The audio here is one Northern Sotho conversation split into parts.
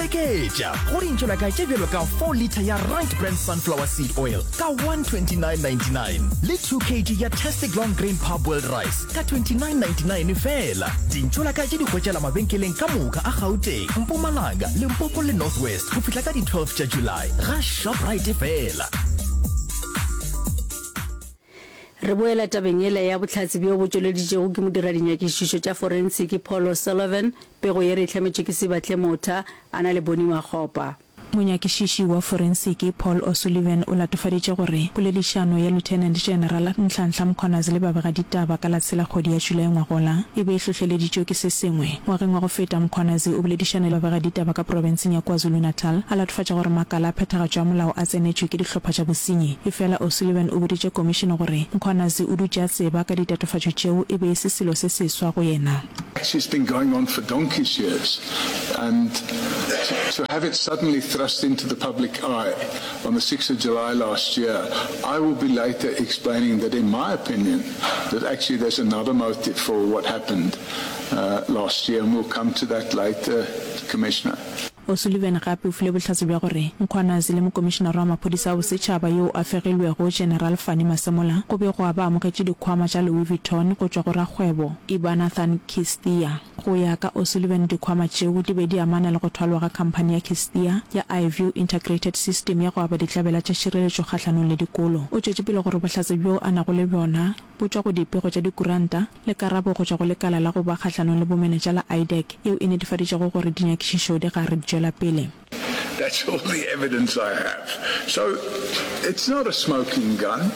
Seketša go dintšolaka tše bjalo ka 4 litre ya Right Brand Sunflower Seed Oil ka 129.99 le 2 kg ya Tastic Long Grain Parboiled Rice ka 29.99 feela. Dintšolaka tše di hwetšala mabenkeleng ka moka a Gauteng, Mpumalanga, Limpopo le North West go fihla ka di 12 tša July ga Shoprite feela. Re boela tabeng yela ya bohlatse bjo bo tšweleditšego ke modiradinyakišišo tša forensiki Paul O'Sullivan. Pego ye re e hlametšwe ke Sibahle Motha a na le Bonnie Makgopa. Monyakišiši wa forensiki Paul O'Sullivan o latofaditše gore poledišano ya Lieutenant General Nhlanhla Mkhwanazi le babegaditaba ka la tshela kgwedi ya Julae ngwagola e be e hlohleleditšwe ke se sengwe. Ngwageng wa go feta Mkhwanazi o boledišane le babegaditaba ka profenseng ya KwaZulu-Natal a latofatša gore makala a phethagatšo ya molao a tsenetšwe ke dihlopha tša bosenyi. Efela O'Sullivan o boditše komišene gore Mkhwanazi o dutše a tseba ka ditatofatšo tšeo e be e se selo se seswa go yena. Actually it's been going on for donkey's years and to have it suddenly thrust into the public eye on the 6th of July last year, I will be later explaining that in my opinion that actually there's another motive for what happened uh, last year and we'll come to that later, Commissioner. O'Sullivan gape o file bohlatse bja gore Mkhwanazi le Mokomišenare wa Maphodisa a Bosetšhaba yo a fegilwego General Fannie Masemola go be gwa ba amogetše dikhwama tša Louis Vuitton go tšwa go rakgwebo Ibanathan Kistia. Go ya ka O'Sullivan dikhwama tšeo di be di amana le go thwalwa ga khamphani ya Kistia ya iView Integrated System ya go aba ditlabela tša tšhireletšo kgahlanong le dikolo. O tšwetše pele gore bohlatse bjo a nago le bjona bo tšwa go dipego tša dikuranta le karabo go tšwa go lekala la go ba kgahlanong le bomenetša la IDAC yeo e netefaditšego gore dinyakišišo di gare di tšwela pele. That's all the evidence I have. So it's not a smoking gun.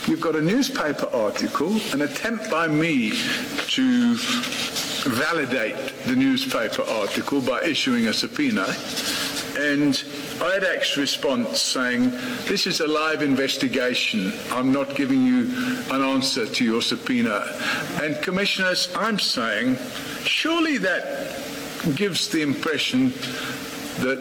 You've got a newspaper article, an attempt by me to validate the newspaper article by issuing a subpoena, and IDAC's response saying, This is a live investigation. I'm not giving you an answer to your subpoena. And commissioners, I'm saying, surely that gives the impression that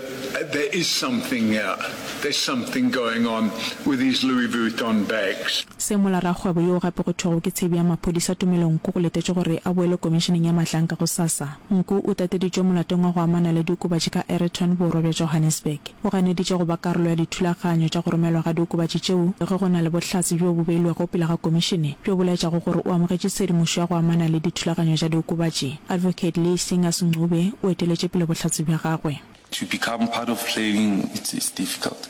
there is something uh, there's something going on with these Louis Vuitton bags. Semola rakgwebo yo gape go thwego ke tshebi ya maphodisa Tumelo Nku go letetšwe gore a boele komišeneng ya Mahlanka gosasa. Nku o tateditšwe molatong wa go amana le diokobatši ka Aeroton borwa bja Johannesburg. O ganeditše go ba karolo ya dithulaganyo tša go romelwa ga diokobatši tšeo ge go na le bohlatse bjo bo beilwego pele ga komišene bjo bo laetšago gore o amogetše tshedimošo ya go amana le dithulaganyo tša diokobatši. Advocate Lee Singers Ncube o eteletše pele bohlatse bja gagwe. To become part of playing it's it's difficult.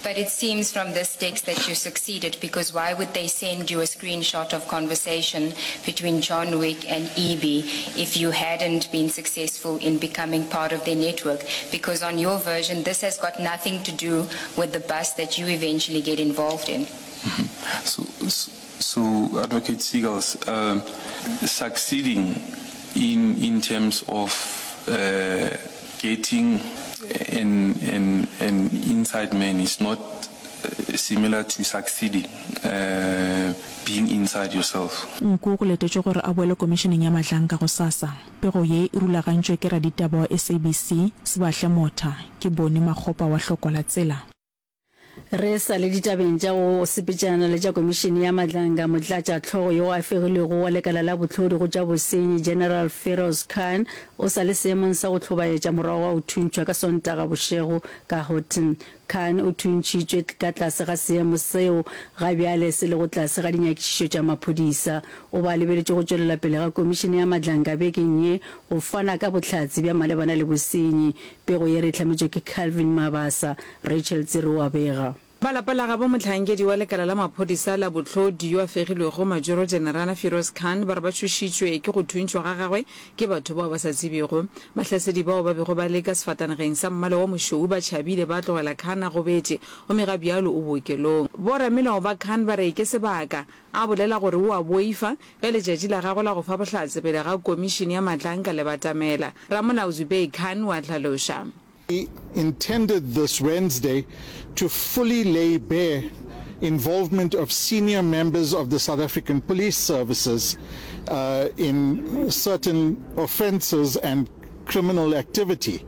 But it seems from this text that you succeeded because why would they send you a screenshot of conversation between John Wick and EB if you hadn't been successful in becoming part of their network? Because on your version, this has got nothing to do with the bus that you eventually get involved in. Mm -hmm. So, so Advocate Seagulls, uh, succeeding in, in terms of uh, getting an, an, an inside man is not uh, similar to succeeding uh, being inside yourself. Nku go letetšwe gore a boele komišeneng ya Mahlanka gosasa. Pego ye e rulagantšwe ke raditaba wa SABC, Sibahle Motha. Ke Boni Makgopa wa Hlokwa la Tsela. Re sa le ditabeng tša go sepetšana le tša Komišene ya Madlanga, Motlatšahlogo yo a fegilwego wa Lekala la Bohlodi go tša Bosenyi, General Firoz Khan, o sa le seemong sa go hlobaetša morago ga go thuntšhwa ka Sontaga bošego ka Houghton. Khan o thuntšhitšwe ka tlase ga seemo seo ga bjale se lego tlase ga dinyakišišo tša maphodisa. O ba lebeletše go tšwelela pele ga Komišene ya Madlanga bekeng ye go fana ka bohlatse bja malebana le bosenyi. Pego ye re e hlametšwe ke Calvin Mabasa. Rachel Tsiri o a bega. Ba lapa la gabo mohlankedi wa lekala la maphodisa la bohlodi yo a fegilwego Majoro Generala Firoz Khan ba re ba tšhošitšwe ke go thuntšhwa ga gagwe ke batho bao ba sa tsebjego. Bahlasedi bao ba bego ba le ka sefatanageng sa mmala wa mošweu ba tšhabile ba tlogela Khan a gobetše gomme ga bjalo o bookelong. Boramelao ba Khan ba re ke sebaka a bolela gore o a boifa ge letšatši la gagwe la go fa bohlatse pele ga komišene ya Matlanka le batamela. Ramolao Zubair Khan o a hlaloša. He intended this Wednesday to fully lay bare involvement of senior members of the South African Police Services uh, in certain offences and criminal activity,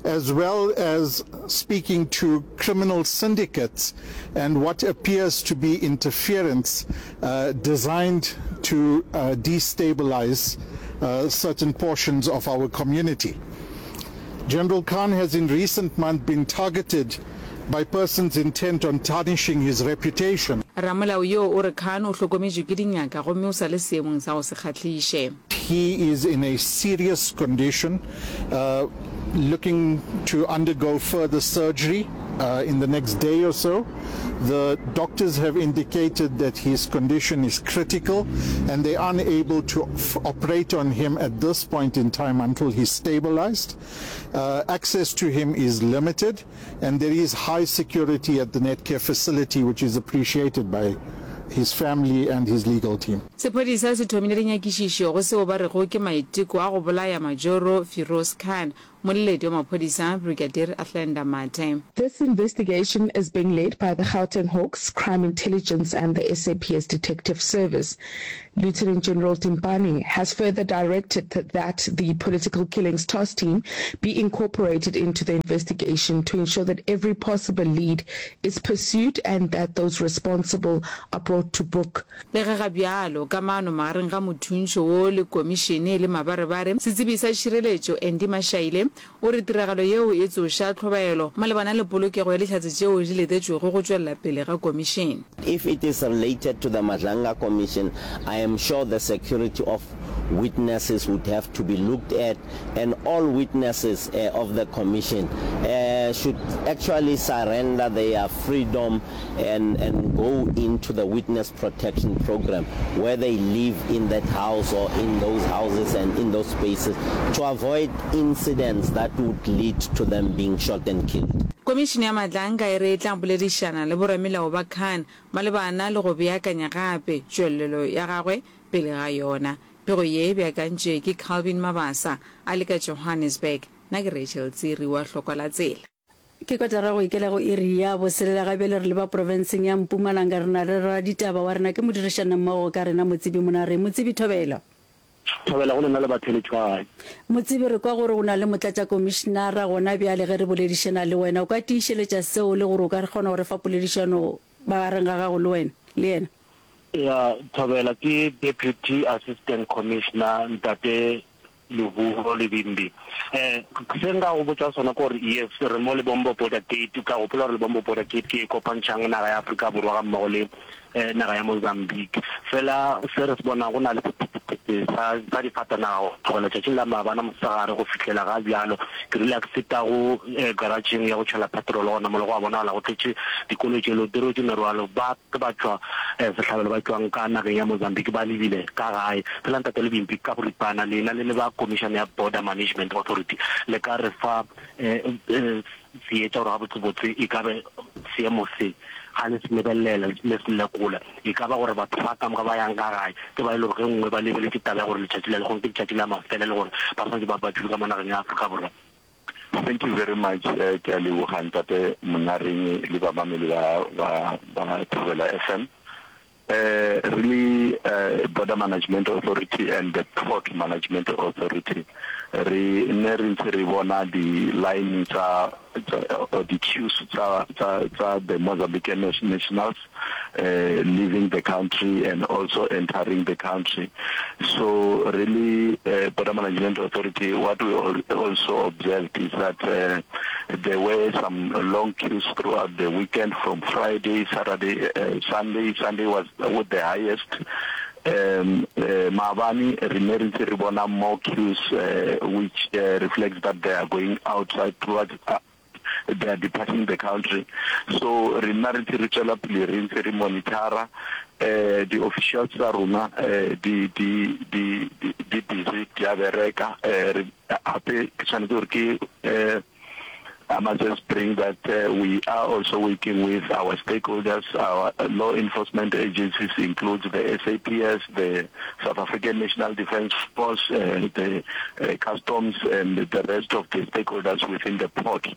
as well as speaking to criminal syndicates and what appears to be interference uh, designed to uh, destabilize uh, certain portions of our community. General Khan has in recent months been targeted by persons intent on tarnishing his reputation. Ramolao yoo o re Khan o hlokometšwe ke dingaka gomme o sa le seemong sa go se kgahliše. He is in a serious condition, looking to undergo further surgery in the next day or so. The doctors have indicated that his condition is critical and they are unable to operate on him at this point in time until he's stabilized. Uh, access to him is limited and there is high security at the Netcare facility which is appreciated by his family and his legal team. Sephodisa se thomile dinyakišišo go seo ba rego ke maiteko a go bolaya Majoro Firoz Khan, Moleledi wa maphodisa Brigadier Athlenda Mathe. This investigation is being led by the Gauteng Hawks, Crime Intelligence and the SAPS Detective Service. Lieutenant General Timpane has further directed that the Political Killings Task Team be incorporated into the investigation to ensure that every possible lead is pursued and that those responsible are brought to book. Le ge ga bjalo kamano magareng ga mothuntšho wo le komišene e le mabarebare, setsebi sa tšhireletšo Andy Mashaile o re tiragalo yeo e tsoša tlhobaelo malebana le polokego ya dihlatse tšeo di letetšwego go tšwelela pele ga komišene. If it is related to the Madlanga Commission, I am sure the security of witnesses would have to be looked at and all witnesses of the commission should actually surrender their freedom and and go into the witness protection program where they live in that house or in those houses and in those spaces to avoid incidents that would lead to them being shot and killed. Komišene ya Madlanga e re e tla boledišana le boramelao ba Khan malebana le go beakanya gape tšwelelo ya gagwe pele ga yona. Pego ye e beakantšwe ke Calvin Mabasa a le ka Johannesburg. Nna ke Rachel Tsiri wa Hlokwa la Tsela. Ke kotara go ikela go iri ya boselela ga bjale re leba profenseng ya Mpumalanga re na le raditaba wa rena ke modirišanammogo ka rena Motsebi Monare. Motsebi Thobela. Thobela go lena le batheeletši ba gae. Motsebi re kwa gore o na le motlatšakomišenara gona bjale ge re boledišana le wena. O ka tiišeletša seo le gore o ka kgona go re fa poledišano magareng ga gago le wena le yena? Ya, Thobela ke Deputy Assistant Commissioner Ntate Lehuho Lebimbi. Eh, se nka go botša sona ke gore yes, re mo Lebombo Border Gate. O tla gopola gore Lebombo Border Gate ke e kopantšhang naga ya Afrika Borwa ga mmogo le eh, naga ya Mozambique. Fela se re se bonang go na le sephethephethe sa, sa difatanaga go tlogela tšatšing la maabana mosegare go fihlela ga bjalo. Ke rile ke feta go eh, garageng ya go tšhela petrol gona mola go a bonagala go tletše dikoloi tše di rwetše merwalo. Ba Ke ba tšwa sehlabelo ba tšwang ka nageng ya Mozambique ba lebile ka gae. Fela Ntate Lebimpi, ka boripana, lena le le ba Komišane ya Border Management Authority le ka re fa seetša gore gabotsebotse e ka be seemo se ga le se lebelela le se lekola, e ka ba gore batho ba ka moka ba yang ka gae ke ba e le gore ge nngwe ba lebeletše taba ya gore letšatši la lehono ke letšatši la mafelelo gore ba swanetše ba ba tšwile ka mo nageng ya Afrika Borwa. Thank you very much ke a leboga ntate Monareng le bamameli ba ba ba Thobela FM. Eh re le eh, Border Management Authority and the Port Management Authority re ne re ntse re bona di line tsa or di queues tsa tsa tsa the Mozambican nationals eh leaving the country and also entering the country. So really eh Border Management Authority what we also observed is that eh there were some long queues throughout the weekend from Friday, Saturday, eh Sunday, Sunday was with the highest. Um eh maabane re ne re ntse re bona more queues eh which eh reflects that they are going outside towards they are departing the country. So re nna re ntse re tswela pele re ntse re monitor-a eh di-officials tsa rona eh di di di di busy di a bereka eh re hape ke tshwanetse gore ke eh I must just bring that uh, we are also working with our stakeholders, our law enforcement agencies includes the SAPS, the South African National Defence Force, uh, the uh, customs and the rest of the stakeholders within the port.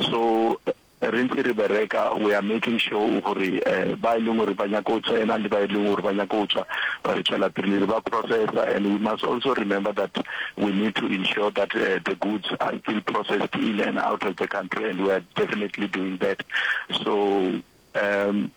So re ntse re bereka we are making sure gore eh, ba e leng gore ba nyaka go tsena le ba e leng gore ba nyaka go tswa ba re tswela pele re ba processa and we must also remember that we need to ensure that uh, the goods are still processed in and out of the country and we are definitely doing that so um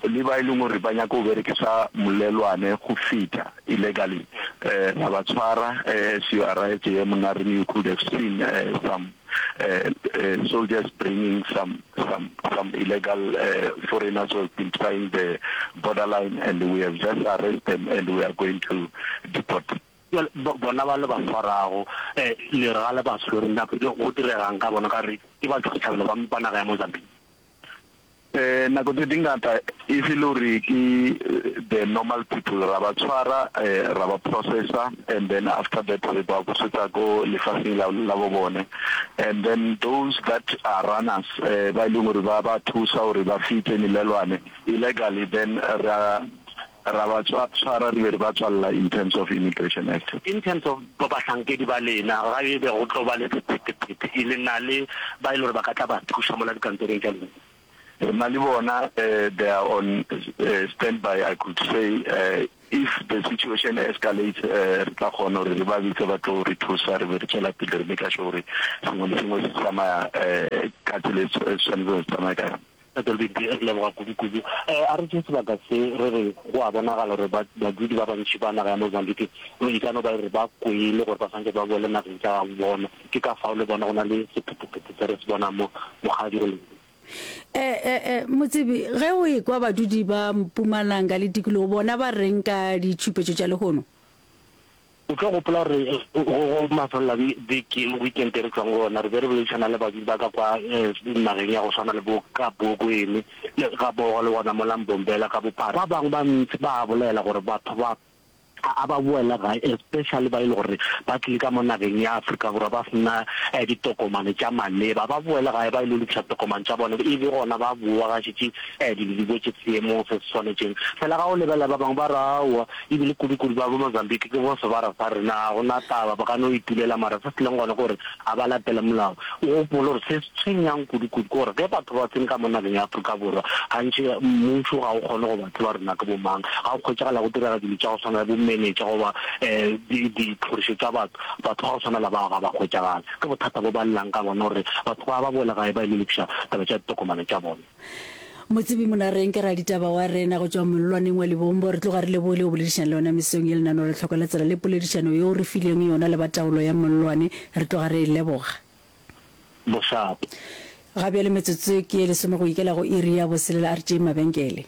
le ba e leng gore ba nyaka go berekisa molelwane go feta illegally eh ra ba tshwara eh, as you arrived here Monareng you could have seen uh, some. uh, uh, soldiers bringing some some some illegal uh, foreigners who have been trying the borderline and we have just arrested them and we are going to deport. Bjale bona ba le ba swarago, le re ga le ba swere, na go direga'ng ka bona ka gore ke batšwasehlabelo ba ba naga ya Mozambique? Nako tse dingata if e le gore ke the normal people ra ba tshwara ra ba processa and then after that re ba busetsa ko lefaseng la la bo bone and then those that are runners ba e leng gore ba ba thusa gore ba fite melelwane illegally then ra ra ba tshwara re be re ba tswalla in terms of Immigration Act. In terms of bahlankedi ba lena ga e be go tlo ba le sephethephethe le na le ba e le gore ba ka tla ba thuša mola dikantorong tša lena? Re na le bona, they are on stand by I could say if the situation escalates re tla kgona gore re ba bitse ba tlo re thusa re be re tšwela pele re make sure gore sengwe le sengwe se tsamaya ka tsela e tshwanetseng go tsamaya ka yona. Tate Lbidi, re leboga kudu-kudu. A re tšee sebaka se re re go a bonagala gore badudi ba bantši ba naga ya Mozambique e ka no ba e re ba kwele gore ba swanetše ba boele nageng tša gabo bona. Ke ka fao le bona go na le sephethephethe se re se bonang mo Mokgadi go Lbidi. Motsebi, ge o ekwa badudi ba Mpumalanga le tikologo bona ba reng ka ditšhupetšo tša lehono? O tlo gopola gore go mafelelo a beke, weekend e re tšwang go yona, re be re boledišana le badudi ba ka kwa nageng ya go swana le bo Kabokweni le Gabogo le gona mola Mbombela ka bophara. Ba bangwe ba ntši ba bolela gore batho ba a ba boele gae, especially ba e le gore ba tlile ka mo nageng ya Afrika Borwa ba sena ditokomane tša maleba. Ba boele gae ba ilo lokiša tokomane tša bona, e be gona ba bowa ga šetše dilo di boetše seemong se se swanetšeng. Fela ga o lebelela ba bangwe ba re aowa, E bile kudu-kudu ba bo Mozambique ke bo sebara sa rena, ga go na taba, ba ka no itulela, mara se se leng gona ke gore ga ba latele molao. O gopole gore se se tshwenyang kudu-kudu ke gore ge batho ba tsene ka mo nageng ya Afrika Borwa, gantši mmušo ga o kgone go ba tseba gore na ke bo mang. Ga go hwetšagala go direga dilo tša go swana le bomenetša goba ditlhorišo tša batho, batho ba go swana le bao ga ba hwetšagale. Ke bothata bo ba llang ka bona gore batho ba ba boele gae ba ilo lokiša taba tša ditokomane tša bona. Motsebi Monareng ke raditaba wa rena go tšwa mollwaneng wa Lebombo. Re tloga re lebogile go boledišana le wena mesong ye lenaneo la Tlhoko la Tsela le poledišano yeo re fileng yona le ba taolo ya mollwane. Re tloga re e leboga. Bošapo. Ga bjale metsotso ke ye lesome go ikela go iri ya boselela. A re tšeeng mabenkele.